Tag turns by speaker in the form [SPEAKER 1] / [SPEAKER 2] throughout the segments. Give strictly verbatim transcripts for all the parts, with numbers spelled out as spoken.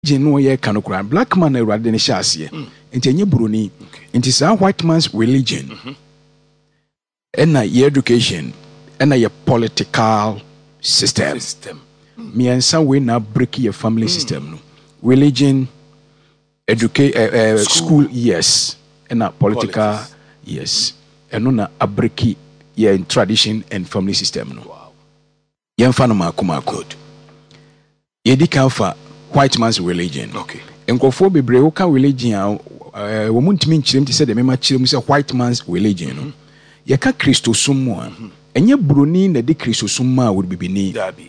[SPEAKER 1] No yɛka no koraa, black man na Awurade de no hyɛ aseɛ, nti ɛnyɛ buroni. Nti saa white man's religion ɛna yɛ education ɛna yɛ political system.
[SPEAKER 2] System.
[SPEAKER 1] Mmiɛnsa wei na break yɛ family system no: religion, educa uh, uh, school. Yes, ɛna political.
[SPEAKER 2] Politics.
[SPEAKER 1] Yes, ɛno na abreak yɛ tradition and family system no.
[SPEAKER 2] Wow.
[SPEAKER 1] Yɛmfa no maako maako. Yɛdi kan fa white man's religion.
[SPEAKER 2] Okay.
[SPEAKER 1] Nkurɔfoɔ bebree, woka religion a, ɛɛ, wɔn mu ntumi nkyerɛm te sɛ deɛ mema kyerɛ mu sɛ white man's religion no. Yɛka Kristosom mu a, ɛnyɛ buroni na de Kristosom maa wɔ bibini.
[SPEAKER 2] Dabi.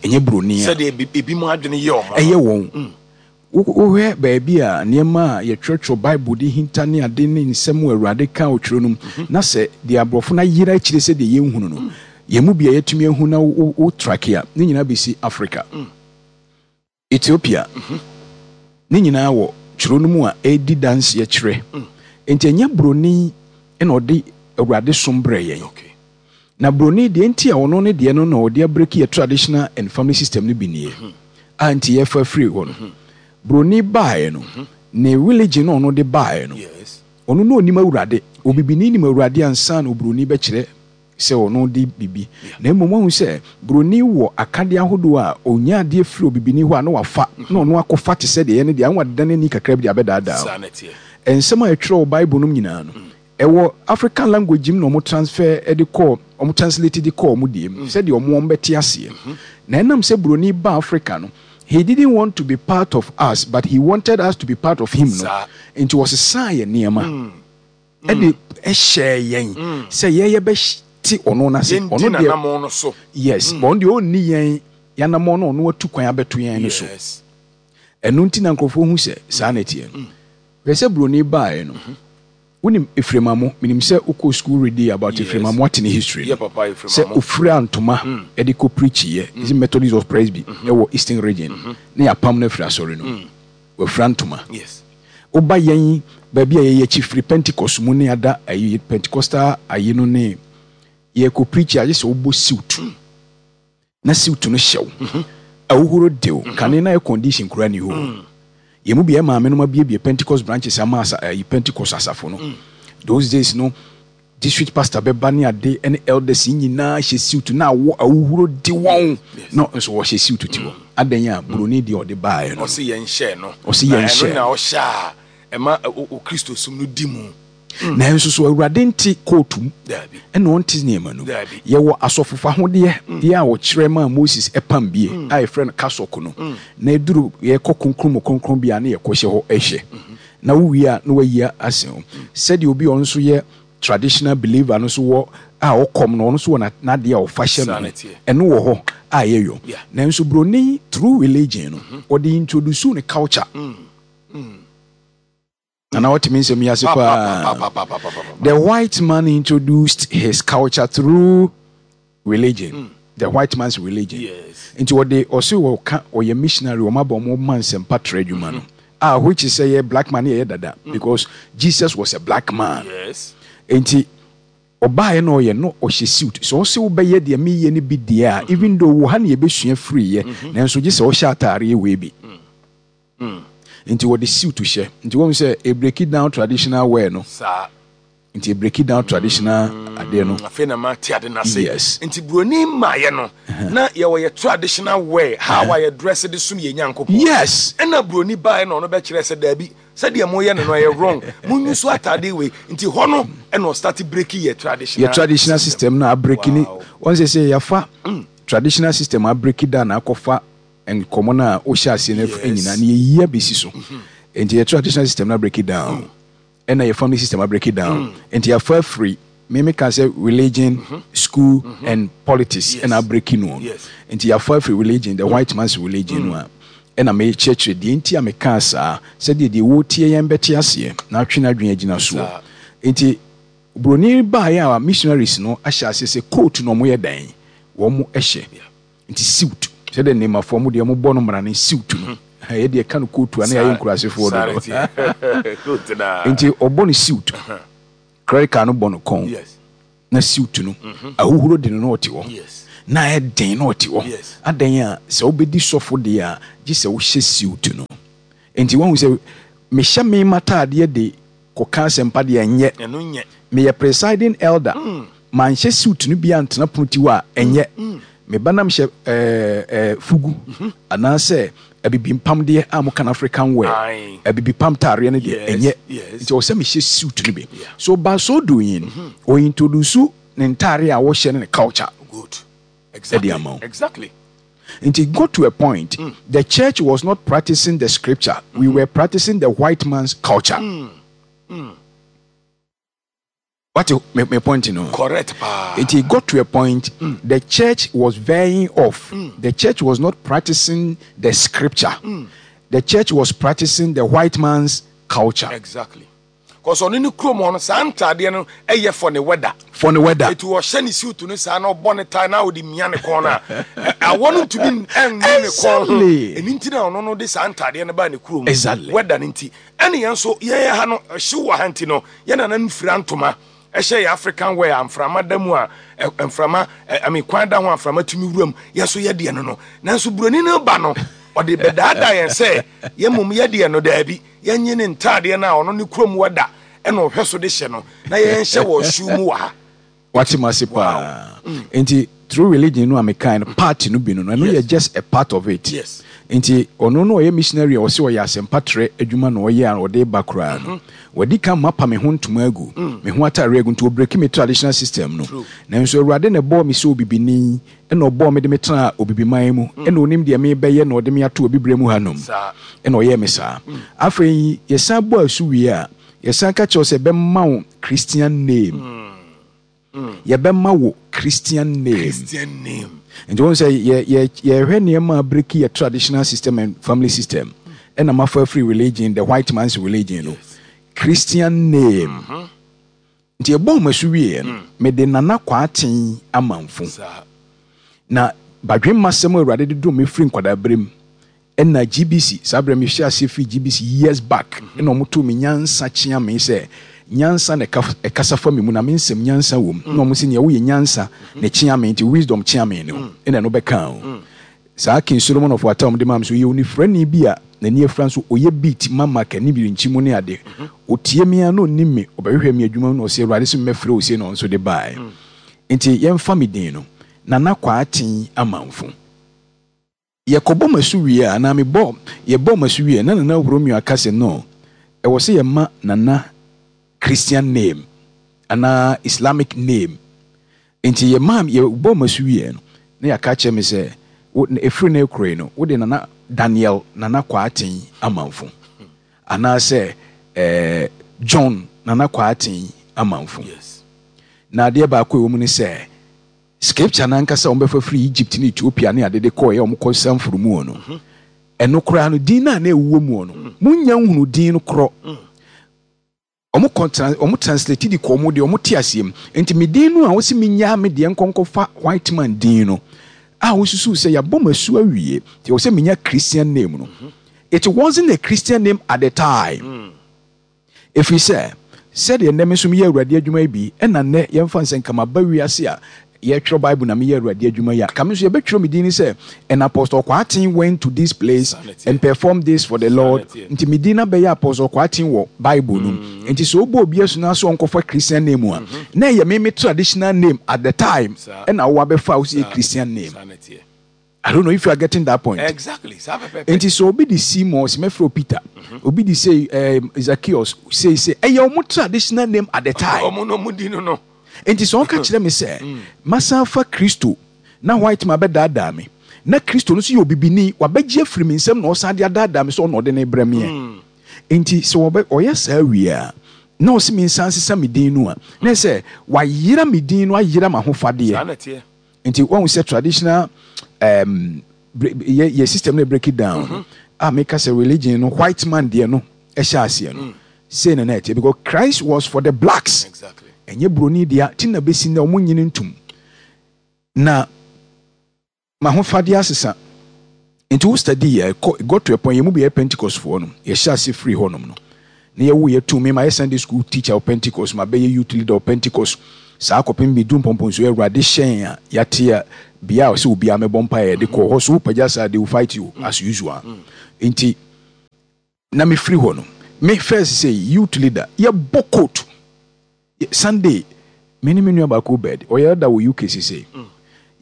[SPEAKER 1] Ɛnyɛ buroni a
[SPEAKER 2] Sɛdeɛ ebi ebi mu adwene yɛ ɔmo.
[SPEAKER 1] Ɛyɛ wɔn. Wo- wohwɛ baabi a nneɛma a yɛtwerɛtwerɛ Bible de hinta ne ade ne nsɛm a Awurade ka ɔtwerɛ no mu na sɛ deɛ aborɔfo no ayera akyire sɛ deɛ yɛnhunu no, yɛn mu bia yɛtumi ahu na wo wo track a ne nyinaa bɛsi Africa, Ethiopia, ne nyinaa wɔ twerɛ no mu a ɛredi danseɛ kyerɛ. Nti ɛnyɛ buroni ɛna ɔde Awurade som brɛ yɛn.
[SPEAKER 2] Okay.
[SPEAKER 1] Na buroni deɛ, nti a ɔno ne deɛ no na ɔde abreak yɛ traditional and family system no bi nie a, nti yɛfa firi hɔ no, buroni baeɛ no, ne religion no ɔno de baeɛ no,
[SPEAKER 2] Yes.
[SPEAKER 1] ɔno na onim Awurade. Obibini nim Awurade ansa na oburoni bɛkyerɛ sɛ ɔno de bibi. Na mmom wahu sɛ buroni wɔ akadeɛ ahodoɔ a ɔnya adeɛ firi obibini hɔ a, na wafa na ɔno akɔfa te sɛ deɛ ɛyɛ no deɛ anwa deda n'ani kakra bi de abɛdaadaa.
[SPEAKER 2] Saa na ɛteɛ.
[SPEAKER 1] Nsɛm a ɛtwerɛ wɔ Bible no mu nyinaa no, ɛwɔ African language mu na ɔmo transfer de kɔɔ, ɔmo translate de kɔɔ ɔmo deɛ mu sɛdeɛ ɔmo wɔn bɛte aseɛ. Na ɛnam sɛ buroni ba Africa no, he didn't want to be part of us, but he wanted us to be part of him no.
[SPEAKER 2] Saa.
[SPEAKER 1] Nti wɔsesaa yɛ nneɛma ɛde ɛhyɛ yɛn sɛ yɛyɛ bɛte ɔno n'ase.
[SPEAKER 2] Yɛndi
[SPEAKER 1] Ɔno deɛ
[SPEAKER 2] nanamɔn no so.
[SPEAKER 1] Yes, but ɔno deɛ, ɔnni yɛn yɛnamɔ no, ɔno atu kwan abɛto yɛn no so.
[SPEAKER 2] Yes.
[SPEAKER 1] Ɛno nti na nkurɔfoɔ hu sɛ saa na ɛteɛ no. Hwɛ sɛ buroni baeɛ no, wonim Ephraim Amoh. Menim sɛ wokɔ school read about
[SPEAKER 2] Yes.
[SPEAKER 1] Ephraim Amoh, ate ne history no.
[SPEAKER 2] Yɛ papa Ephraim
[SPEAKER 1] Sɛ
[SPEAKER 2] Amoh.
[SPEAKER 1] ofura ntoma ɛde kɔ preachiyɛ mm. Methodist of Presby ɛwɔ Eastern Region ne yɛapam no afiri asɔre no mu. Wafura ntoma.
[SPEAKER 2] Yes.
[SPEAKER 1] Woba yɛn baabi a yɛyɛ akyi firi Pentecost mu ne ada ayi Pentecostal ayi no ne yɛkɔ preach a, agye sɛ wobɔ suit na suit no hyɛw ahohoro dew kane na air condition kura ni hɔ. Yɛn mu bi yɛ maame no ma biebie Pentecost branches ama asa ayi Pentecost asafo no. Those days no, district pastor bɛba ne ade ne elders yi nyinaa hyɛ suit na awɔ ahohoro de wɔn na nso wɔhyɛ suit ti hɔ adan a buroni deɛ ɔde baeɛ no.
[SPEAKER 2] Ɔsi yɛn hyɛ no.
[SPEAKER 1] Ɔsi
[SPEAKER 2] Na
[SPEAKER 1] yɛn
[SPEAKER 2] ɛno
[SPEAKER 1] hyɛ.
[SPEAKER 2] Na ɔhyɛ a ɛma ɛ, o o Kristo som no di mu.
[SPEAKER 1] Nanso so Awurade nte kootu mu?
[SPEAKER 2] Dabi.
[SPEAKER 1] Ɛna ɔnte nneɛma no.
[SPEAKER 2] Dabi.
[SPEAKER 1] Yɛwɔ asɔfofa ahodeɛ deɛ a wɔkyerɛ maa Moses ɛpam bie a yɛfrɛ no cassock no, na ɛduru yɛkɔ kronkron mu kronkron bia ne yɛkɔhyɛ hɔ ɛhyɛ na wowie a na wayi ase ho sɛdeɛ obi a ɔno nso yɛ traditional believer no nso wɔ a ɔkɔm no, ɔno nso wɔ na- n'adeɛ a ɔfa hyɛ
[SPEAKER 2] Saa
[SPEAKER 1] no
[SPEAKER 2] na
[SPEAKER 1] ho.
[SPEAKER 2] ɛteɛ.
[SPEAKER 1] Ɛno wɔ hɔ a yɛyɔ.
[SPEAKER 2] Yeah.
[SPEAKER 1] Nanso buroni through religion no, ɔde introduce ne culture. Nana, wɔtumi nsɛm yi ase paa.
[SPEAKER 2] Papapapapapapa.
[SPEAKER 1] The white man introduced his culture through religion, the white man's religion.
[SPEAKER 2] Yes.
[SPEAKER 1] Nti wɔde ɔse wɔka ɔyɛ missionary, wɔn aba wɔn ma nsɛmpa trɛ adwuma no a, which is sɛ yɛ black man yɛyɛ dada because Jesus was a black man.
[SPEAKER 2] Yes.
[SPEAKER 1] Nti ɔbaeɛ na ɔyɛ no, ɔhyɛ suit sɛ ɔsɛ wobɛyɛ deɛ meyɛ no bi deɛ a, even though wɔ ha ne yɛbɛsua firiiɛ, nanso gye sɛ ɔhyɛ ataareɛ wei bi. Nti wɔde suit hyɛ. Nti wɔn sɛ ebreak down traditional wear no.
[SPEAKER 2] Saa.
[SPEAKER 1] Nti ebreak down traditional adeɛ no.
[SPEAKER 2] Afei na ma te ade n'ase.
[SPEAKER 1] Yes.
[SPEAKER 2] Nti buroni mmaayɛ no na yɛwɔ yɛ traditional wear, how a yɛ dress de som yɛ Nyankopɔn.
[SPEAKER 1] Yes.
[SPEAKER 2] Ɛna buroni baeɛ na ɔno bɛkyerɛ sɛ daabi, sɛdeɛ moyɛ no no ɛyɛ wrong, monyi so atade wei. Nti hɔ no ɛna ɔstart break yɛ traditional
[SPEAKER 1] Yɛ traditional system na abreak ni.
[SPEAKER 2] Wow.
[SPEAKER 1] Wɔn sɛ sɛ yɛafa traditional system abreak down na akɔfa nkɔmɔ no a wohyɛ aseɛ no
[SPEAKER 2] Yes.
[SPEAKER 1] nyinaa ne yɛyi abɛsi so. Nti yɛ traditional system no abreak down, ɛna yɛ family system abreak down. Nti yɛafa afiri mímí ka sɛ religion, school and politics
[SPEAKER 2] Yes.
[SPEAKER 1] ɛna abreak no.
[SPEAKER 2] Yes.
[SPEAKER 1] Nti yɛafa afiri religion, the white man's religion no a, ɛna mekyerɛkyerɛ deɛ nti a mekaa saa sɛdeɛ deɛ wɔtie yɛn bɛte aseɛ na atwe no adwene agyina soɔ.
[SPEAKER 2] Saa.
[SPEAKER 1] Nti buroni baeɛ a, missionaries no ahyɛ ase sɛ coat na ɔmo yɛ dan wɔn mo hyɛ. Nti suit sɛdeɛ nnemafoɔ mo deɛ mo bɔ no mmara ne suit no, yɛ deɛ ka no coat a na yɛayɛ nkurasefoɔ
[SPEAKER 2] Saa
[SPEAKER 1] dodo.
[SPEAKER 2] na ɛteɛ. Coat na.
[SPEAKER 1] Nti ɔbɔ no suit, clerical no bɔ no kɔn
[SPEAKER 2] Yes.
[SPEAKER 1] na suit no ahohoro de no na ɔte hɔ.
[SPEAKER 2] Yes.
[SPEAKER 1] Na ɛden na ɔte hɔ.
[SPEAKER 2] Yes.
[SPEAKER 1] Adan a sɛ wobɛdi sɔfo deɛ a, gye sɛ wohyɛ suit no. Nti wahu sɛ mehyɛ me mataadeɛ de kɔka asɛmpa deɛ, ɛnyɛ.
[SPEAKER 2] Ɛno nyɛ.
[SPEAKER 1] Meyɛ presiding elder, manhyɛ suit no bi antena pono ti hɔ a, ɛnyɛ. Meba nam hyɛ ɛɛ ɛɛ fugu anaasɛ abibi mpam deɛ a moka no African wear,
[SPEAKER 2] Aye.
[SPEAKER 1] abibi pam taareɛ no deɛ,
[SPEAKER 2] Yes,
[SPEAKER 1] ɛnyɛ.
[SPEAKER 2] yes.
[SPEAKER 1] Nti ɔwɔ sɛ mehyɛ suit no bi. So by so doing, ɔ introduce ne ntaare a wɔhyɛ ne ne culture
[SPEAKER 2] Good. Exactly.
[SPEAKER 1] ama wo.
[SPEAKER 2] Exactly.
[SPEAKER 1] Nti it got to a point, the church was not practicing the scripture, we were practicing the white man's culture. What me, me point no?
[SPEAKER 2] Correct paa.
[SPEAKER 1] It got to a point, the church was veering off. The church was not practicing the scripture, the church was practicing the white man's culture.
[SPEAKER 2] Exactly. 'Cause ɔno ne kurom hɔ no, saa ntaadeɛ no ɛyɛ for ne weather.
[SPEAKER 1] For the weather.
[SPEAKER 2] Eti ɔhyɛ ne suit no saa na ɔbɔ ne tie na ɔde mia ne kɔn no a, ɛ- awɔ no ntumi ɛnni ne kɔn ho.
[SPEAKER 1] Exactly.
[SPEAKER 2] Ɛni nti na ɔno no de saa ntaadeɛ no baa ne kurom.
[SPEAKER 1] Exactly.
[SPEAKER 2] Weather no nti. Ɛne yɛn nso yɛn ha no, ɛhyew wɔ ha nti no, yɛn nana no fira ntoma ɛhyɛ yɛ African wear a mframa da mu a ɛ- mframa ɛ, I mean, kwan da ho a mframa tumi wura mu. Yɛn nso yɛ deɛ no no nanso buroni no ba no, ɔde bɛdaadaa yɛn sɛ yɛn mmom yɛ deɛ no daabi, yɛnye ne ntaadeɛ no a ɔno ne kurom weather ɛna ɔhwɛ so de hyɛ no na yɛnhyɛ wɔ shoe mu wɔ ha.
[SPEAKER 1] Wate mu ase paa. Nti through religion no a mekan no, part no bi no no ɛno
[SPEAKER 2] Yes.
[SPEAKER 1] yɛ just a part of it.
[SPEAKER 2] Yes.
[SPEAKER 1] Nti ɔno no ɔyɛ missionary a ɔsɛ ɔyɛ asɛmpa trɛ adwuma na ɔyɛ a ɔde ba koraa no, wɔdi kan mapa me ho ntoma agu, me ho atare agu, nti ɔ break me traditional system no.
[SPEAKER 2] True.
[SPEAKER 1] Nanso Awurade na ɛbɔɔ me sɛ obibini, ɛna ɔbɔɔ me de me tena obibiman mu, ɛna onim deɛ mebɛyɛ na ɔde me ato obibire mu hanom.
[SPEAKER 2] Saa.
[SPEAKER 1] Ɛna ɔyɛɛ me saa. Afei yɛsan bɔ asu wie a, yɛsan ka kyerɛw sɛ ɛbɛma wo Christian name. Yɛbɛma wo Christian name.
[SPEAKER 2] Christian name.
[SPEAKER 1] Nti wɔn sɛ yɛ yɛ yɛhwɛ nneɛma a break yɛ traditional system and family system, ɛna mafa free religion, the white man's religion no, Christian name. Nti yɛbɔ wɔn asu wie no, mede Nana Kwaaten Amanfo.
[SPEAKER 2] Saa.
[SPEAKER 1] Na badwemma sɛm a Awurade de dom me firi nkwadaa berɛ mu, ɛna G B C saa berɛ mehyɛ aseɛ firi G B C years back, ɛna ɔmo too me nyansa kyea me sɛ nyansa na ɛka- ɛkasa fa me mu na me nsɛm nyansa wɔ mu, na ɔmo sɛ nea woyɛ nyansa na kyea me, nti wisdom kyea me no, ɛna ɛno bɛka o. Saa King Solomon of Wata ɔmo de maa me so yɛ onifrani bi a n'ani afira nso ɔyɛ beat mama kani bi nkyi mu ne ade. Otie me a na onim me, ɔbɛhwehwɛ me adwuma mu na ɔsɛ Awurade sɛ mmɛfrɛ wo sei, na ɔno nso de baeɛ. Nti yɛmfa me din no, Nana Kwaaten Amanfo. Yɛkɔbɔ masu wie a, anaa mebɔ yɛbɔ masu wie a, na Nana Romeo aka sɛ no, ɛwɔ sɛ yɛma Nana Christian name anaa Islamic name. Nti yɛma yɛbɔ masu wie no, na yɛaka kyerɛ me sɛ wo- ɛfiri no ekuro yi no, wode Nana Daniel Nana Kwaaten Amanfo anaasɛ ɛɛ John Nana Kwaaten Amanfo.
[SPEAKER 2] Yes.
[SPEAKER 1] Na adeɛ baako a ɛwɔ mu ne sɛ scripture nankasa a wɔbɛfa firi Egypt ne Ethiopia ne ade de kɔɔ yɛ wɔn kɔ sanforo mu no, ɛno koraa no, din no a na ɛwɔ mu no, munya nhunu din no korɔ. Ɔmo kɔ trans ɔmo translate de kɔ ɔmo deɛ ɔmo te aseɛ mu. Nti me din no a wɔsi me nyaa me deɛ nkɔnkɔfa white man din no a wosusu sɛ yɛabɔ mo asu awie nti ɛwɔ sɛ menya Christian name no, it wasn't a Christian name at the time, ɛfiri sɛ sɛdeɛ nnɛ me nso meyɛ Awurade adwuma yi bi, ɛna nnɛ yɛmfa nsɛ nka maba wiase a yɛtwerɛ Bible na meyɛ Awurade adwuma yi a, ka me nso yɛbɛtwerɛ me din ne sɛ, "And Apostle Kwaten went to this place and performed this for the Lord." Nti me din no bɛyɛ Apostle Kwaten wɔ Bible no mu. Nti sɛ wobɔ obi asu no so ɔnkɔfa Christian name a, na ɛyɛ me me traditional name at the time, ɛna wowɔ abɛfa a wo sɛ yɛ Christian name. I don't know if you are getting that point.
[SPEAKER 2] Exactly.
[SPEAKER 1] Nti sɛ obi de Simon, sɛ mɛfrɛ Peter, obi de say um, Zacchaeus, say say ɛyɛ ɔmo traditional name at the time.
[SPEAKER 2] Ɔmo no ɔmo di no no.
[SPEAKER 1] Nti sɛ ɔka kyerɛ me sɛ masan fa Kristo na white man bɛdaadaa me, na Kristo no nso yɛ obibini, wabɛgye afiri me nsam na ɔsan de adaadaa me sɛ ɔna ɔde ne brɛ meɛ. Nti sɛ wɔbɛ ɔyɛ saa wie a, na ɔsi me nsan sesa me din no a, na sɛ wayera me din no, ayera m'ahofadeɛ.
[SPEAKER 2] Saa na teɛ.
[SPEAKER 1] Nti wɔn sɛ traditional um, yɛ yɛ system no break it down mm -hmm. a meka sɛ religion no, white man deɛ no ɛhyɛ aseɛ no mm. Sei na na ɛteɛ because Christ was for the blacks.
[SPEAKER 2] Exactly.
[SPEAKER 1] Ɛnyɛ buroni deɛ ti na bɛsi na ɔmo nyini ntum na m'ahofadeɛ asesa. Nti wo study yɛ kɔ, got to a point, yɛn mu bi yɛ Pentecost foɔ no, yɛhyɛ ase firi hɔnom no na yɛwo yɛ tu me ma yɛ Sunday school teacher wɔ Pentecost, ma bɛyɛ youth leader wɔ Pentecost. Saa kɔpem bi du mpɔmpɔnsuo, Awurade hyɛn a yɛate a bea a sɛ obiara mɛbɔ mpa yɛde kɔ hɔ so, wopagya saa, they will fight you as usual. Nti na mefiri hɔ no, me first sɛ youth leader, yɛbɔ coat Sunday. Me ne me nua baako bed, ɔyɛ da wɔ U K sese,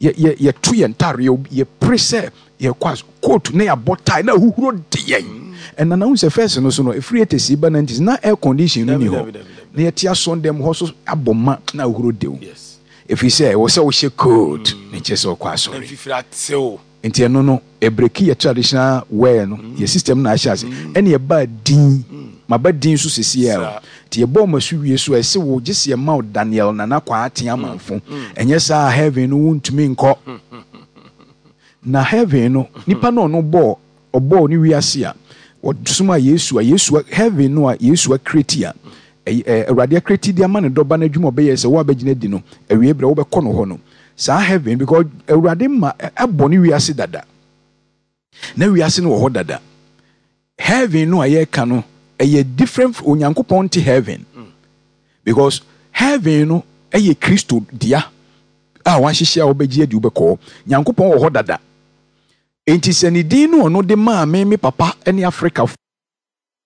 [SPEAKER 1] yɛto yɛn ntare, yɛpere sɛ yɛkɔ as coat na yɛabɔ tie na ahuhuro de yɛn. Ɛna na wohu sɛ first no so no, ɛfiri eighties ba nineties na air condition no ni hɔ, na yɛte asɔn dɛm hɔ so abɔ ma na ahuhuro de wo, ɛfiri sɛ ɛwɔ sɛ wohyɛ coat ne kyɛ sɛ ɔkɔ asɔre. Nti ɛno no ɛbreak yɛ traditional wear no, yɛ system na ahyɛ ase. Ɛne yɛbaa din maba din so sisi a, nti yɛbɔ ɔmo asu wie so a, ɛsɛ wo gye sɛ yɛma wo Daniel Nana Kwaate Amanfo. Ɛnyɛ saa, heaven no wontumi nkɔ. Na heaven no, nipa no ɔno bɔɔ, ɔbɔɔ ne wiase a ɔsoma Yesu a, Yesu heaven no a Yesu acreate a Awurade acreate de ama ne dɔba no, adwuma ɔbɛyɛ sɛ wo abɛgyina di no awie berɛ wobɛkɔ no hɔ no, saa heaven, because Awurade ma ɛbɔ ne wiase dada na wiase no wɔ hɔ dada. Heaven no a yɛreka no ɛyɛ different. Onyankopɔn te heaven, because heaven no ɛyɛ Kristo dea a wahyehyɛ a wobɛgye adi wobɛkɔɔ. Nyankopɔn wɔ hɔ dada, enti sɛ ne din no ɔno de maa me me papa ne Africa